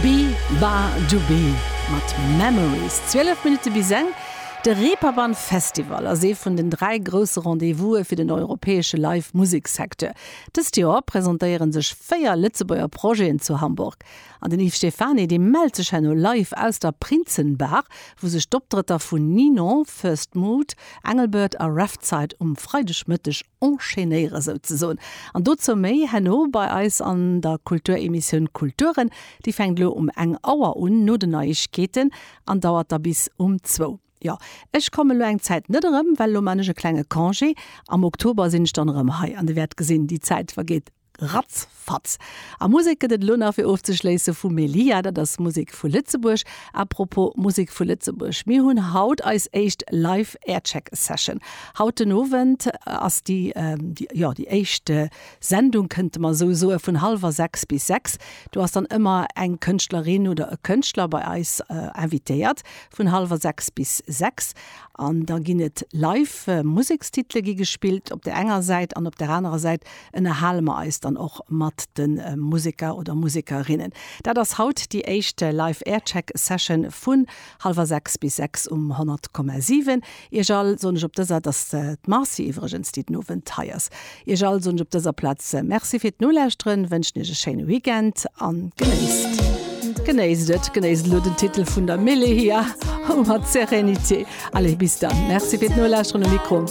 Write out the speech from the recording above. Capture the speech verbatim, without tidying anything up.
Beabadoobee mat Memories. Zwielef Minutte bis eng. De Reeperbahn Festival ass ee vun den dräi grousse Rendez-vouse fir den europäesche Live-Museksecteur. Dëst Joer presentéiere sech véier Lëtzebuerger Projeten zu Hamburg. An den Yves Stephany, dee mellt sech herno live aus der Prinzenbar, wou sech d'Optrëtter vun Ninon, First Mood, Engelbert a Raftside um Freidegmëtteg enchaînéiere souzesoen. An dozou méi herno bei eis an der Kulturemissioun Kulturen. Déi fänkt elo um eng Auer un, no den Neiegkeeten, an dauert da bis um zwou. Jo, ech kommen elo eng Zäit net erëm, well elo man ech e klenge Congé. Am Oktober sinn ech dann erëm hei an dir wäert gesinn, déi Zäit vergeet ratzfatz. A Musek gëtt et elo nach fir ofzeschléisse vu Melia, dat ass Musek vu Lëtzebuerg. Apropos Musek vu Lëtzebuerg, mir hunn haut eis éischt Live Aircheck Session. Haut den Owend ass déi, déi, jo, déi éischt Sendung, kënnte mer esou soe, vun hallwer sechs bis sechs. Do ass dann ëmmer eng Kënschtlerin oder e Kënschtler bei eis invitéiert vun hallwer sechs bis sechs. An da ginn et live Musekstitele gi gespillt op der enger Säit an op der anerer Säit ënnerhale mer eis dann och mat de Museker oder Musekerinnen. Dat ass haut déi éischt Live Aircheck Session vun hallwer sechs bis sechs um honnert Komma siwen. Iech all soen ech op dëser, dat ass d'Marcy iwwregens, déi den Owend hei ass. Iech all soen ech op dëser Plaz Merci fir d'Nolauschteren, wënschen iech e schéine Weekend an genéisst. Genéisst et, genéisst elo den Titel vun der Melehia mat Serenité. Allez, bis dann. Merci fir d'Nolauschteren um Mikro.